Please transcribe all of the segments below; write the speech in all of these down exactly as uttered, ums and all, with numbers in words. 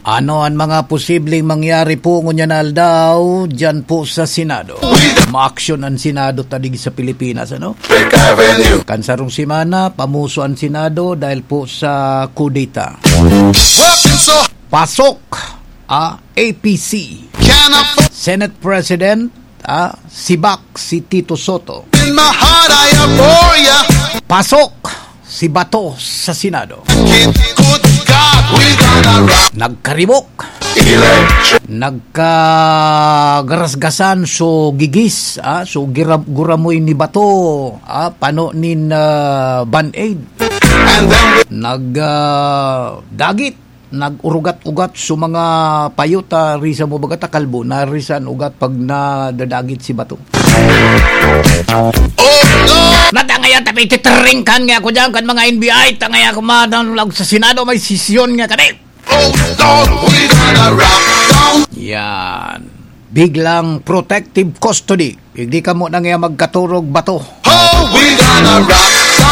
Ano an mga posibleng mangyari po ngunyan na aldaw diyan po sa Senado? Maaksyon an Senado ta digdi sa Pilipinas, ano? Kan sarong semana, pamuso an Senado dahil po sa kudeta. Pasok, ah, A P C. Senate President, ah, sibak si Tito Soto. Pasok si Bato sa Senado. Nagkaribok. Nagkagarasgasan so gigis, ah, so gira-, guramoy ni Bato, ah, pano nin, ah, Band-Aid. Nag, ah, dagit, nag-urugat-ugat so mga payo ta, risa mo baga ta kalbo, narisa an ugat pag nadadagit si Bato. Natangaya tapi titringkan nga ako dyan kan mga N B I, tangaya ako madanlag sa Senado, may sesyon nga kami. Yan. Biglang protective custody. Digdi kamo na nga magkaturog bato.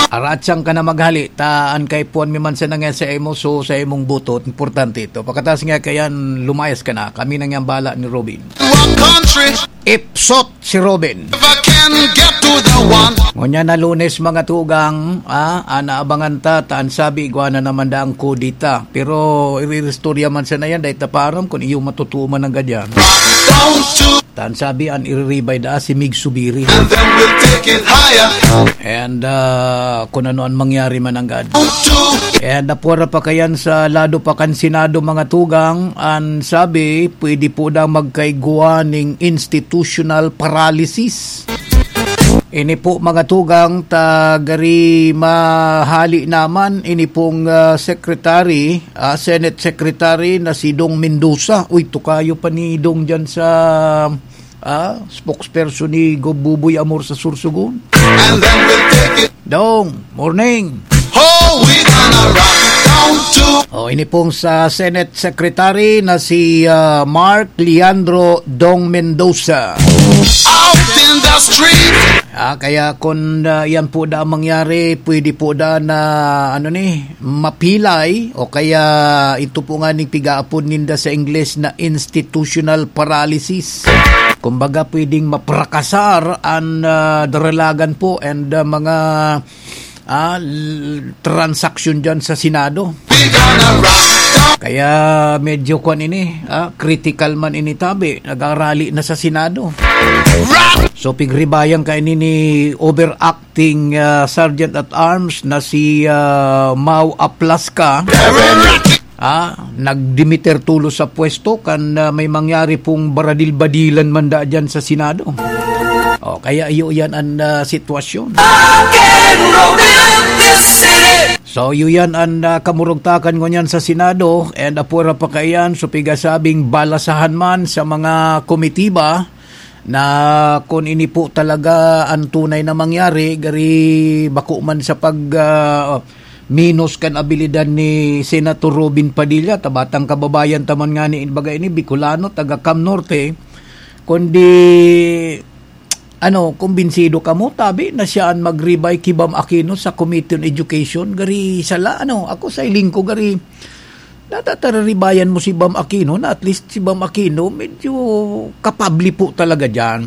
Aratsang ka na maghali. Ta an kaipuhan mi man sana nga sa imo, so sa imong butot. Importante ito. Pagkatapos nga kayan, lumayas ka na. Kami na nga bala ni Robin. Ipsot si Robin. Ngunyan na Lunes, mga tugang, ah, ah, naabangan ta, ta an sabi, igwa na naman daang kudeta. Pero iriristorya man sana yan, dahil taparam kung iyo matutuo man ang gadyan. Ta an sabi, an iriribay daa si Mig Subiri. And, ah, kung ano an mangyari man ang gad. And apwera pa kayan sa lado pa kan Senado, mga tugang, an sabi, pwede po daw magkaigwa ning institutional paralysis. Ini po, mga tugang, ta gari mahali naman, ini pong, ah, secretary, ah, Senate Secretary na si Dong Mendoza. Uy, tukayo pa ni Dong dyan sa, ah, spokesperson ni Gob Buboy Amor sa Sorsogon. Dong, morning. Oh, ini pong sa Senate Secretary na si, ah, Mark Leandro Dong Mendoza. Ah, kaya kung, ah, yan po da ang mangyari, pwede po da na, ano ni, mapilay, o kaya ito po nga ning pigaapod ninda sa Ingles na institutional paralysis. Kumbaga, pwedeng maprakasar an, ah, daralagan po and, ah, mga ah, l-, transaksyon dyan sa Senado. Kaya medyo kwan ini, ah, critical man ini tabi, nagarali na sa Senado. So, pigribayan ka ini ni overacting, ah, Sergeant at Arms na si, ah, Mau Aplaska. Ah, nagdimiter tulos sa pwesto kan, ah, may mangyari pong baradil-badilan man da dyan sa Senado. O, kaya iyo yan an, ah, sitwasyon. So, iyo yan an, ah, kamurugtakan ngunyan sa Senado, and apwera pa kaiyan, so pigasabing balasahan man sa mga komitiba, na kun ini po talaga an tunay na mangyari, gari bako man sa pag, ah, minos kan abilidad ni Senator Robin Padilla, ta batang kababayan ta man ngani, baga ini, Bicolano, taga Cam Norte, kundi, ano, kumbinsido kamo, tabi na siya an magribay ki Bam Aquino sa Committee on Education, gari sala, ano, ako sa hiling ko, gari Natatararibayan mo si Bam Aquino na at least si Bam Aquino medyo kapable po talaga diyan.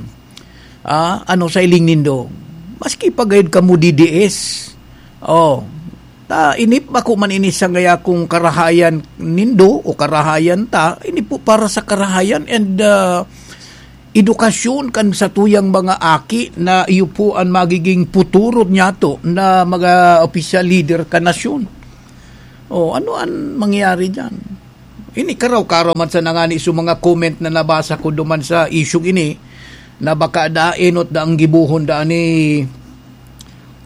Ah, ano sa hiling nindo? Maski pa gayud kamo D D S. Oh, ta inip bako man ini sa gaya kung karahayan nindo o karahayan ta, ini po para sa karahayan and, ah, edukasyon kan satuyang mga aki na iyo po an magiging futuro niyato na mga opisyal leader kan nasyon. Oh, ano an mangyayari diyan? Ini karaw-karaw man sana ngani sa mga comment na nabasa ko duman sa isyung ini, na baka da enot da ang gibohon da ni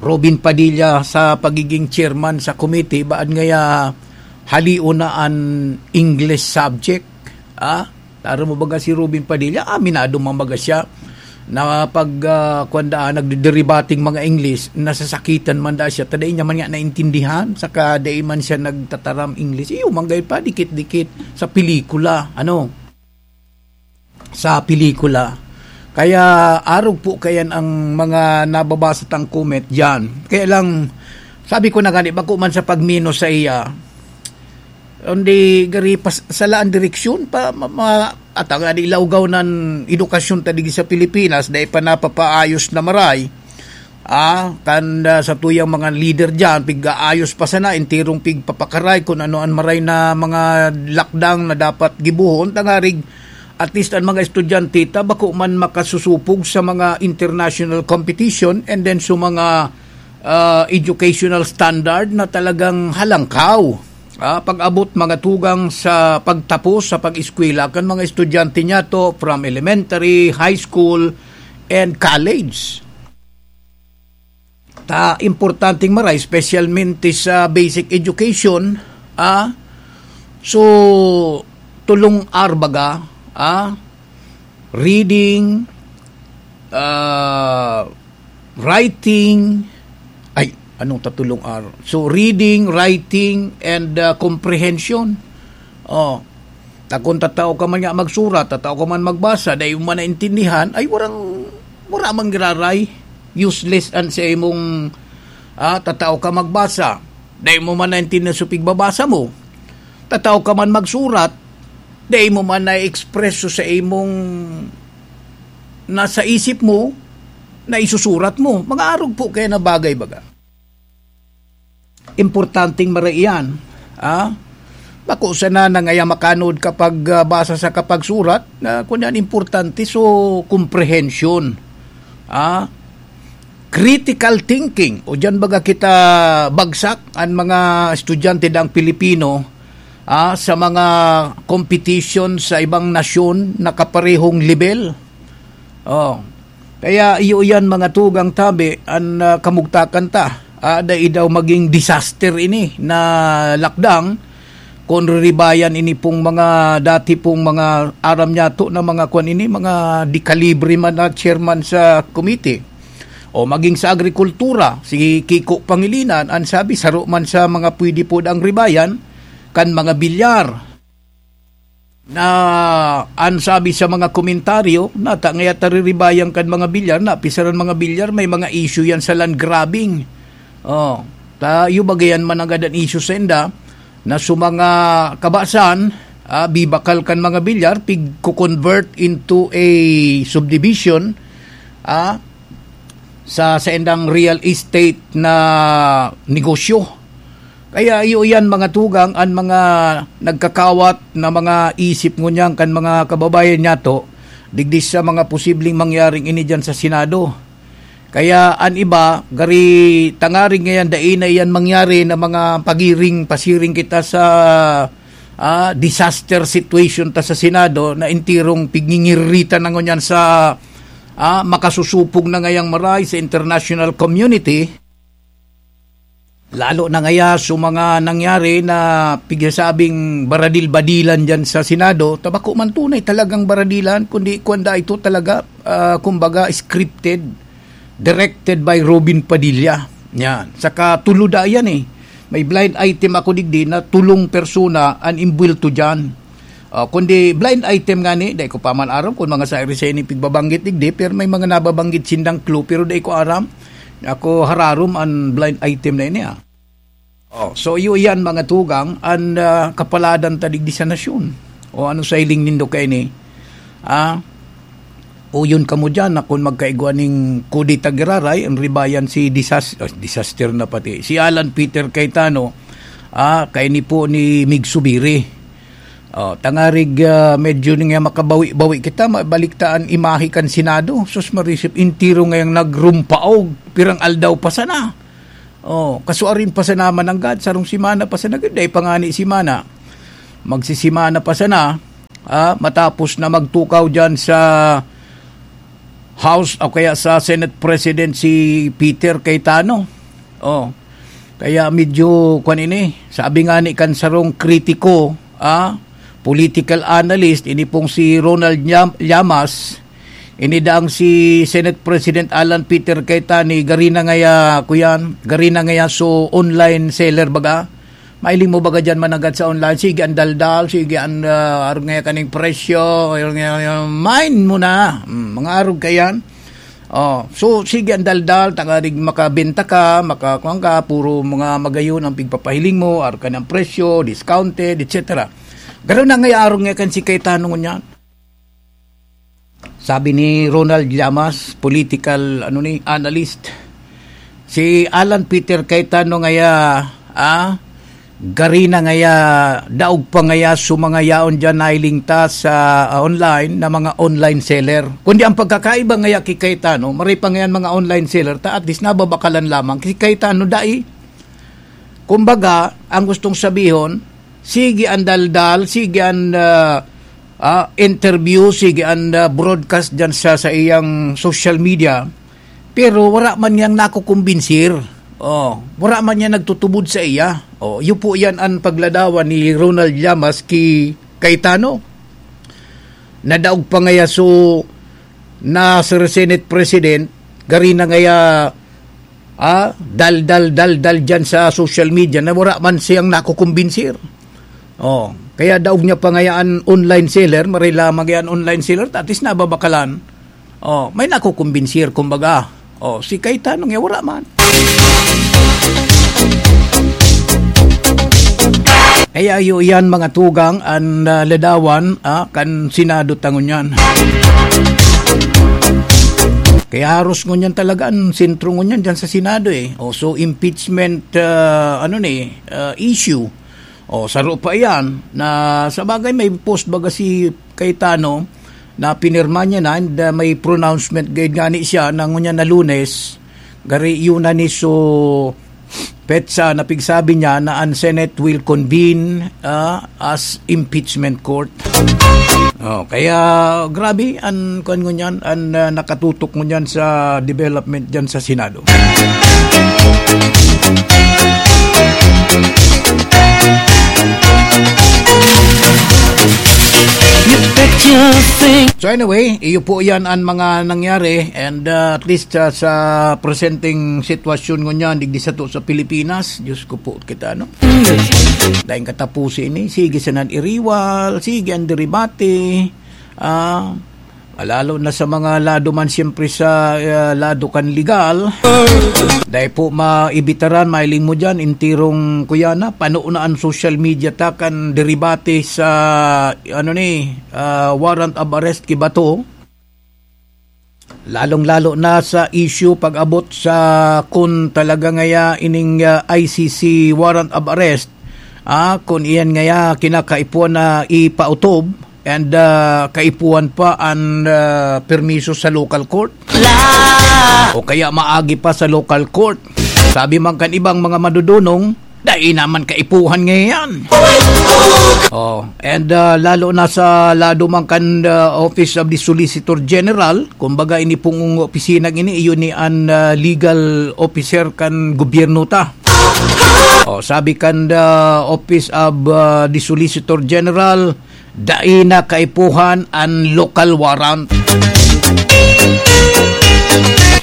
Robin Padilla sa pagiging chairman sa committee, baad ngaya halion na an English subject. Ah, taro mo baga si Robin Padilla, aminado man baga siya na pag, ah, kwan da, nagdidiribating mga English, nasasakitan man da siya, ta dai niya man nga naintindihan, saka dai man siya nagtataram English. Iyo, manggay pa, dikit-dikit sa pelikula, ano, sa pelikula. Kaya arog po kayan ang mga nababasa tang comment diyan. Kaya lang, sabi ko na gani, bako man sa pagminos sa iya, Kundi gari pas-, sala an direksyon pa, ma-, ma-, at ang ilawgaw nan edukasyon ta digdi sa Pilipinas, dai pa napapaayos na maray. Ah, kan, ah, sa tuyang mga leader diyan, pig-aayos pa sana, enterong pigpapakaray kung ano an maray na mga lakdang na dapat gibohon, tangarig at least an mga estudyante ta bako man makasusupog sa mga international competition and then sa mga, ah, educational standard na talagang halangkaw. Ah, pag-abot mga tugang sa pagtapos sa pag-eskwela kan mga estudyante niyato from elementary, high school, and college. Ta importanteng maray, specialmente sa basic education, ah, so, tulong R baga, ah, reading, ah, writing, ay, anong tatulong R? So, reading, writing, and, ah, comprehension. Oh, ta kun tatao ka man nga magsurat, tatao ka man magbasa, dai mo man naintindihan, ay, warang, wara man giraray. Useless an sa imong, ah, tatao ka magbasa, dai mo man naintindihan sa pigbabasa mo. Tatao ka man magsurat, dai mo man na-express sa imong nasa isip mo, na isusurat mo. Mga arog po kaya na bagay, baga. Importanteng maray iyan, ah? Bako sana na ngaya makanood kapag, ah, basa sa kapagsurat, na kun yan importante, so, comprehension. Ah? Critical thinking, o diyan baga kita bagsak, an mga estudyante dang Pilipino, ah, sa mga competition sa ibang nasyon na kaparehong level. Oh. Kaya iyo yan, mga tugang tabi, an, ah, kamugtakan ta. Ah, dai daw maging disaster ini na lakdang, kun riribayan ini pong mga dati pong mga aram niyato na mga kwan ini, mga dekalibre man na chairman sa komite. O maging sa agrikultura, si Kiko Pangilinan, an sabi, saro man sa mga pwede po dang ribayan, kan mga bilyar. Na an sabi sa mga komentaryo, nata ngaya ta riribayan kan mga bilyar, na pisaran mga bilyar, may mga issue yan sa land grabbing. Oh, ta, iyo bagayan man agad an issue sa inda, na sa mga kabasan, ah, bibakal kan mga bilyar, pig-convert into a subdivision, ah, sa, sa indang real estate na negosyo. Kaya iyo yan, mga tugang, an mga nagkakawat na mga isip ngunyan kan mga kababayan niyato, digdi sa mga posibleng mangyaring ini diyan sa Senado. Kaya an iba, gari tangaring ngayan, dai na iyan mangyari na mga pagiring, pasiring kita sa, ah, disaster situation ta sa Senado na enterong pigngingiritan na ngunyan sa, ah, makasusupog na ngayang maray sa international community. Lalo na ngaya sa mga nangyari na pigsasabing baradil-badilan diyan sa Senado, ta bako man tunay talagang baradilan, kundi kuwan da ito talaga, ah, kumbaga scripted, directed by Robin Padilla. Yan. Saka tulo da yan eh. May blind item ako digdi na tulong persona an imbwelto diyan. Ah, kundi blind item nga ni, dai ko pa man aram kung mga sa iri sa ini pigbabanggit digdi, pero may mga nababanggit sindang clue, pero dai ko aram. Ako hararom an blind item na ini, ah. Oh, so iyo yan, mga tugang, an, ah, kapaladan ta digdi sa nasyon. O ano sa hiling nindo kaini? Ah, uyon kamo diyan na kun magkaigwa ning kudeta giraray, an ribayan si disas-, oh, disaster na pati. Si Alan Peter Cayetano, ah, kaini po ni Mig Zubiri. Oh, tangarig, ah, medyo nga makabawi-bawi kita, mabalik ta an imahe kan Senado. Sus, marisip, entero ngayang nagrumpaog, pirang aldaw pa sana. Oh, kasuarin pa sana mananggad, sarong semana pa sana, dai pa ngani semana. Magsisemana pa sana, ah, matapos na magtukaw diyan sa House o kaya sa Senate President si Peter Cayetano. Oh, kaya medyo, kwan ini, sabi nga ni kan sarong kritiko, ah, political analyst, ini pong si Ronald Llama-, Llamas, ini daang si Senate President Alan Peter Cayetani, gari na ngaya, kuyan, gari na ngaya so online seller baga. Mailing mo baga diyan managad sa online, sige ang daldal, sige ang, ah, arog ngaya kaning presyo, arog ngaya, mine mo na. Hmm, mga arog kayan. Oh, so sige ang daldal, tanganing makabenta ka, makakuan ka, puro mga magayon ang pigpapahiling mo, arog ka ng presyo, discounted, et cetera. Garo na ngaya arog nga kan si Cayetano ngunyan. Sabi ni Ronald Llamas, political, ano ni, analyst, si Alan Peter Cayetano ngaya, ah, gari na ngaya, daog pa ngaya sa mga yaon dyan nailingtas sa, ah, online na mga online seller. Kundi ang pagkakaiba ngaya ki Cayetano, maray pa ngayan mga online seller, ta at least nababakalan lamang. Ki Cayetano, dai. Kumbaga, ang gustong sabihon, sige ang daldal, sige ang, ah, ah, interview, sige ang, ah, broadcast dyan sa, sa iyang social media, pero wala man niyang nakukumbinsir. Oh, wala man niya nagtutubod sa iya. Oh, iyo po yan ang pagladawan ni Ronald Llamas ki Cayetano. Nadaog pa ngaya so na Sir Senate President, gari na ngaya, ah, dal, dal, dal, dal dyan sa social media na wala man siyang nakukumbinsir. Oh, kaya daog niya pa ngaya an online seller, maray lamang yan online seller, at least nababakalan. Oh, may nakukumbinsir, kumbaga. Oh, si Cayetano nga wala man. Kaya iyo iyan, mga tugang, an, ah, ladawan, ah, kan Senado ta ngunyan. Kaya haros ngunyan talaga an sentro ngunyan dyan sa Senado, eh. O, so, impeachment, ah, ano ni, ah, issue. O, saro pa iyan na, sa bagay, may post baga si Cayetano na pinirma niya na, and, ah, may pronouncement gayud ngani siya na ngunyan na Lunes, gari yun na ni so petsa na pigsabi niya na an Senate will convene, ah, as impeachment court. Oh, kaya grabe an kuwan ngunyan, an, ah, nakatutok ngunyan sa development diyan sa Senado. You bet you think So anyway, iyo po yan ang mga nangyari, and, uh, at least, uh, sa presenteng sitwasyon ngunyan digdi sato sa Pilipinas, Diyos ko po, kita, no? Dahil katapusin ini, sige sa nan-iriwal, sige ang deribate, ah, lalo na sa mga lado man siyempre sa, uh, lado kan legal. Dahil po maibitaran, mailing mo dyan, intirong kuya na, pano na ang social media ta kan deribate sa, ano ni, ah, warrant of arrest ki Bato. Lalong-lalo na sa issue pag-abot sa kun talaga ngaya ining, ah, I C C warrant of arrest, ah, kun iyan ngaya kinakaipuhan na ipautob and, ah, kaipuhan pa an, ah, permiso sa local court. O kaya maagi pa sa local court. Sabi man kan ibang mga madudunong, dai naman kaipuhan ngayon. Oh, and, ah, lalo na sa lado man kan, ah, Office of the Solicitor General, kumbaga ini pong opisina ini, iyo ni an, ah, legal officer kan gobyerno ta. Oh, sabi kan, ah, Office of, ah, the Solicitor General, dai na kaipuhan an local warrant.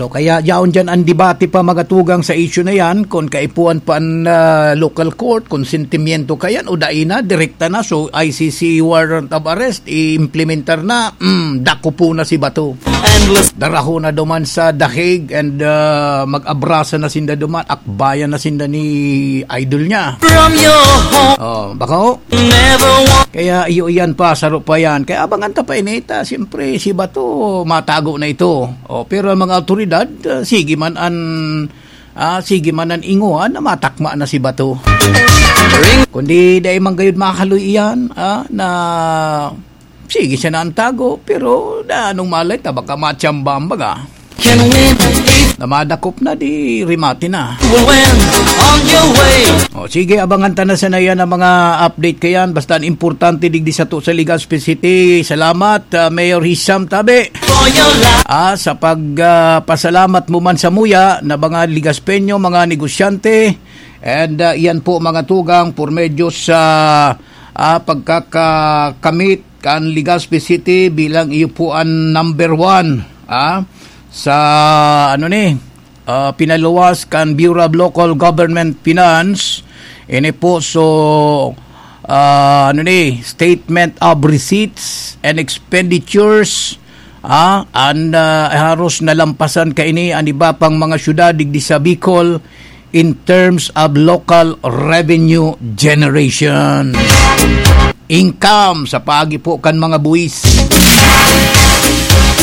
So, kaya yaon dyan ang debate pa, mga tugang, sa issue na yan, kung kaipuhan pa an, ah, local court, kung sentimiento ka yan, o dai na, direkta na. So, I C C warrant of arrest, i-implementar na, mm, dako po na si Bato. Endless. Daraho na duman sa The Hague and, ah, mag-abrasa na sinda duman, akbayan na sinda ni idol niya. From your home. Oh, baka ho? Never want Kaya iyo iyan pa, saro pa yan. Kaya abangan ta pa ini ta, siyempre, si Bato, matago na ito. Oh, pero ang mga awtoridad, ah, sige man an, ah, sige man an ingoan na matakma na si Bato. Ring. Kundi dai man gayud mahaloy iyan, ah, na sige siya na ang tago, pero da, anong malay ta, baka matsambahan baga. Can win if Na madakop na, di rimate na. Will win on your way. O, sige, abangan ta na sana yan ang mga update kayan. Basta ang importante, digdi sato sa Legazpi City. Salamat, ah, Mayor Hisham Tabe. For your life. Ah, sa pag, ah, pasalamat mo man sa muya na mga Legazpeño, mga negosyante. And, ah, iyan po, mga tugang, por medyo sa, ah, pagkakamit kan Legazpi City bilang iyo po ang number one, ah, sa, ano ni, ah, pinaluwas kan Bureau of Local Government Finance. Ini po, so, ah, ano ni, Statement of Receipts and Expenditures, Ah, an, ah, haros nalampasan kaini an iba pang mga syudad digdi sa Bicol in terms of local revenue generation. Income sa paagi po kan mga buwis.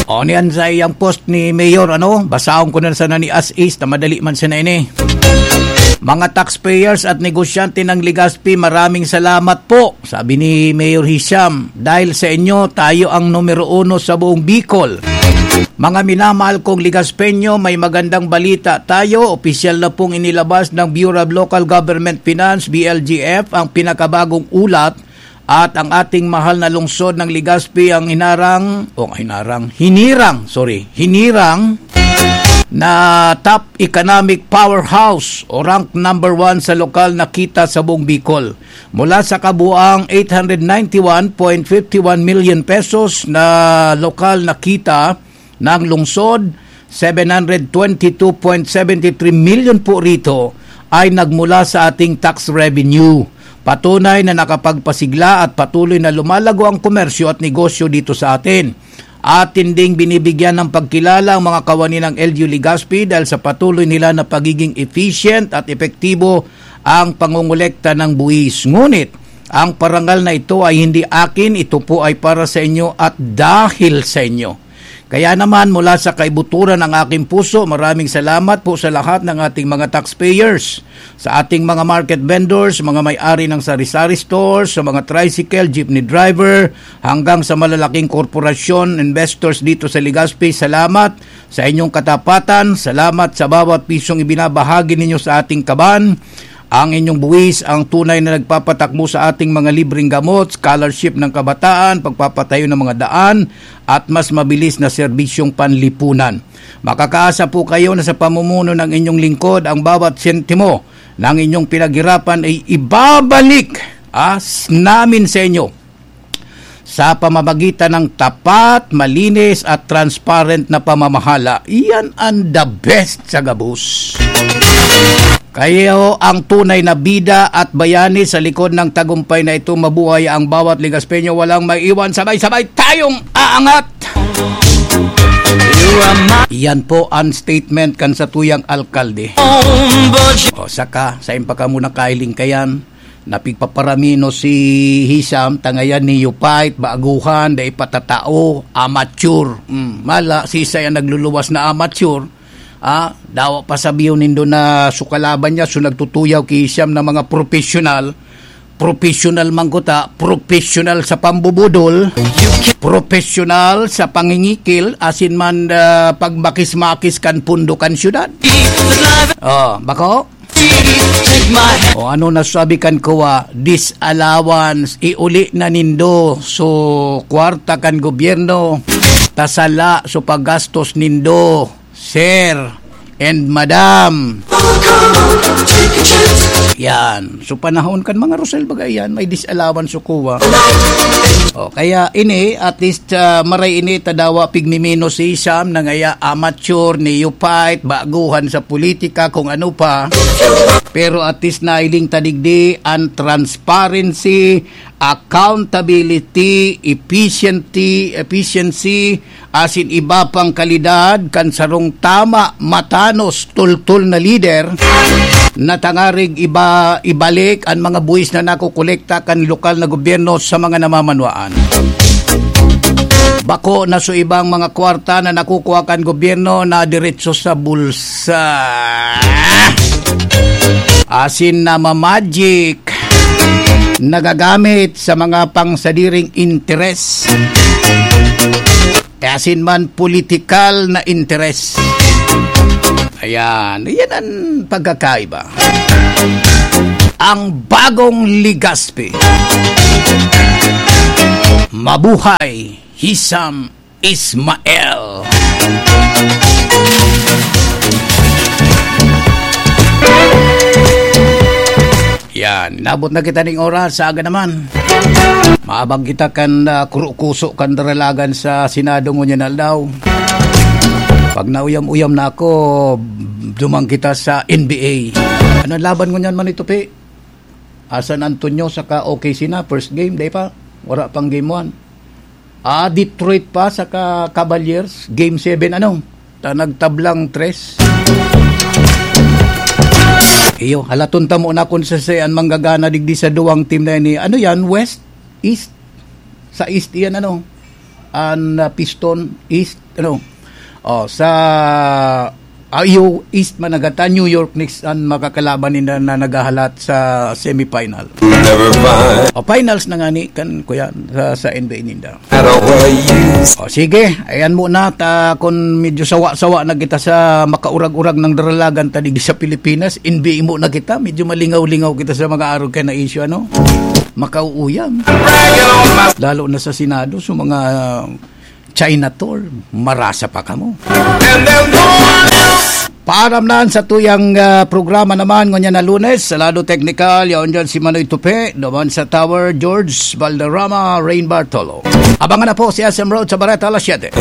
O, niyan sa iyang post ni Mayor, ano? Basahon ko na sana ni as is na madali man sana ini. Mga taxpayers at negosyante ng Legazpi, maraming salamat po, sabi ni Mayor Hisham. Dahil sa inyo, tayo ang numero uno sa buong Bicol. Mga minamahal kong Legazpeño, may magandang balita tayo. Opisyal na pong inilabas ng Bureau of Local Government Finance, B L G F, ang pinakabagong ulat at ang ating mahal na lungsod ng Legazpi ang hinarang, o hinarang, hinirang, sorry, hinirang na top economic powerhouse o rank number one sa lokal na kita sa buong Bicol. Mula sa kabuang eight hundred ninety-one point fifty-one million pesos na lokal na kita ng lungsod, seven hundred twenty-two point seventy-three million po rito ay nagmula sa ating tax revenue. Patunay na nakapagpasigla at patuloy na lumalago ang komersyo at negosyo dito sa atin. Atin ding binibigyan ng pagkilala ang mga kawani ng L G U Legazpi dahil sa patuloy nila na pagiging efficient at epektibo ang pangongolekta ng buwis. Ngunit, ang parangal na ito ay hindi akin, ito po ay para sa inyo at dahil sa inyo. Kaya naman, mula sa kaibuturan ng aking puso, maraming salamat po sa lahat ng ating mga taxpayers, sa ating mga market vendors, mga may-ari ng sari-sari stores, sa mga tricycle, jeepney driver, hanggang sa malalaking korporasyon, investors dito sa Legazpi. Salamat sa inyong katapatan. Salamat sa bawat pisong ibinabahagi ninyo sa ating kaban. Ang inyong buwis ang tunay na nagpapatakbo sa ating mga libreng gamot, scholarship ng kabataan, pagpapatayo ng mga daan, at mas mabilis na serbisyong panlipunan. Makakaasa po kayo na sa pamumuno ng inyong lingkod, ang bawat sentimo ng inyong pinaghirapan ay ibabalik, ah, s-, namin sa inyo sa pamamagitan ng tapat, malinis at transparent na pamamahala. Iyan ang the best sa gabos. Kayo ang tunay na bida at bayani sa likod ng tagumpay na ito. Mabuhay ang bawat Legaspeño. Walang maiiwan. Sabay-sabay tayong aangat. Yan po ang statement kan satuyang alkalde. O saka, sain pa kamo nakahiling kayan? Napigpaparamino si Hisham, tangayan ni Yupait, baguhan, dai patatao, amateur. Mm, mala, siisay ang nagluluwas na amateur? Ah, dawa pa sabihon nindo na so kalaban niya, so nagtutuyaw ki Hisham na mga professional. Professional man kuta, professional sa pambubudol, professional sa pangingikil, asin man, ah, pagmakis-makis kan pundo kan syudad. Oh, bako? O ano na sabi kan kuwa, disallowance, iuli na nindo so kwarta kan gobyerno, ta sala so paggastos nindo, sir and madam. Yan. So, panahon kan mga Rosel, baga yan, may disallowance so kuwa. O, kaya ini, at least, ah, maray ini, ta dawa pigmimino si Sam, na ngaya amateur, neophyte, baguhan sa politika, kung ano pa. Pero at least nailing ta digdi an transparency, accountability, efficiency, efficiency, asin iba pang kalidad kan sarong tama, matanos, tultol na lider na tangarig iba, ibalik an mga buwis na nakokolekta kan lokal na gobyerno sa mga namamanwaan. Bako na so ibang mga kwarta na nakukuha kan gobyerno na diretso sa bulsa. Asin na mamagic, nagagamit sa mga pangsadiring interes. Asin man politikal na interes. Ayan, yan ang pagkakaiba. Ang bagong Legazpi. Mabuhay, Hisham Ismael. Yan, nabot na kita ning oras, sa aga naman. Maabang kita kan, ah, kurukuso kan daralagan sa Senado ngunyan aldaw. Pag nauyam-uyam na ako, duman kita sa N B A. Ano laban ngunyan man ito, Pi? Ah, San Antonio saka O K C na, first game, di pa? Wala pang game one. Ah, Detroit pa saka Cavaliers, game seven, ano? Ta nagtablang tres. Iyo, halaton ta muna kung sa, sa an manggagana digdi sa duwang team na ini. Ano yan? West? East? Sa East iyan, ano? An, ah, Piston? East? Ano? Oh, sa, ah, iyo, East man nagata, New York Knicks an makakalaban ninda na naghahalat sa semifinal. Never mind. O, finals na nga ni kan, kuya, sa, sa N B A ninda. Matter where you O sige, ayan muna ta, kun medyo sawa-sawa na kita sa makaurag-urag ng daralagan ta digdi sa Pilipinas, N B A muna kita, medyo malingaw-lingaw kita sa mga arog kaya na issue, ano? Makauuyam. Lalo na sa Senado, sa mga China tour, marasa pa kamo. Paaram na sa tuyang, ah, programa naman ngunyan na Lunes, sa lado teknikal, yaon dyan si Manoy Tupe, naman sa Tower, George Valderrama, Rain Bartolo. Abangan na po si S M Road sa Bareta alas siyete.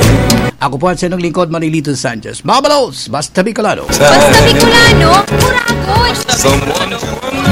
Ako po ang sinong lingkod, Manilito Sanchez. Mga balos, basta Bicolano. Basta Bicolano, Muragon!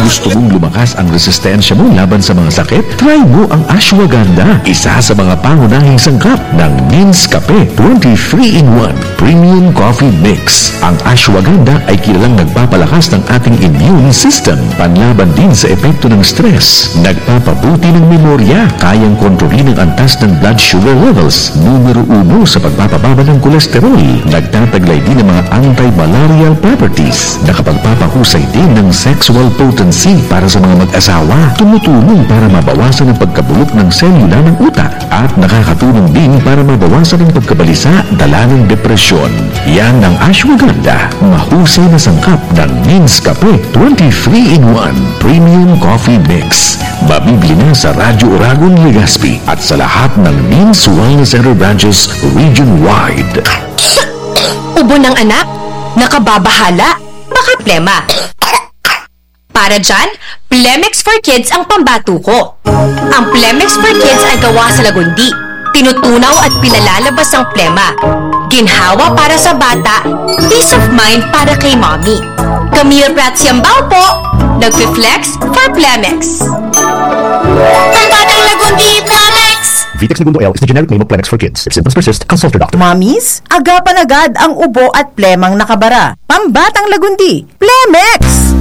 Gusto mong lumakas ang resistensya mo laban sa mga sakit? Try mo ang ashwagandha, isa sa mga pangunahing sangkap ng Means Kape twenty-three-in-one Premium Coffee Mix. Ang ashwagandha ay kilalang nagpapalakas ng ating immune system, panlaban din sa epekto ng stress, nagpapabuti ng memorya, kayang kontrolin ang antas ng blood sugar levels, numero uno sa pagpapababa ng kolesterol, nagtataglay din ng mga antimalarial properties, nakapagpapahusay din ng sexual potency para sa mga mag-asawa, tumutulong para mabawasan ang pagkabulok ng selula ng utak, at nakakatulong din para mabawasan ang pagkabalisa dala ng depresyon. Yan ang ashwagandha, mahusay na sangkap ng Means Kape twenty-three-in-one Premium Coffee Mix. Mabibili na sa Radyo Oragon, Legazpi at sa lahat ng Means Wellness Center branches region-wide. Ubo ng anak, nakababahala, baka plema. Para dyan, Plemex for Kids ang pambato ko. Ang Plemex for Kids ay gawa sa lagundi. Tinutunaw at pinalalabas ang plema. Ginhawa para sa bata, peace of mind para kay mommy. Camille Prats Yambao po, nagfi-flex for Plemex. Pambatang lagundi, Plemex! Vitex Negundo L is the generic name of Plemex for Kids. If symptoms persist, consult your doctor. Mommies, agapan agad ang ubo at plemang nakabara. Pambatang lagundi, Plemex!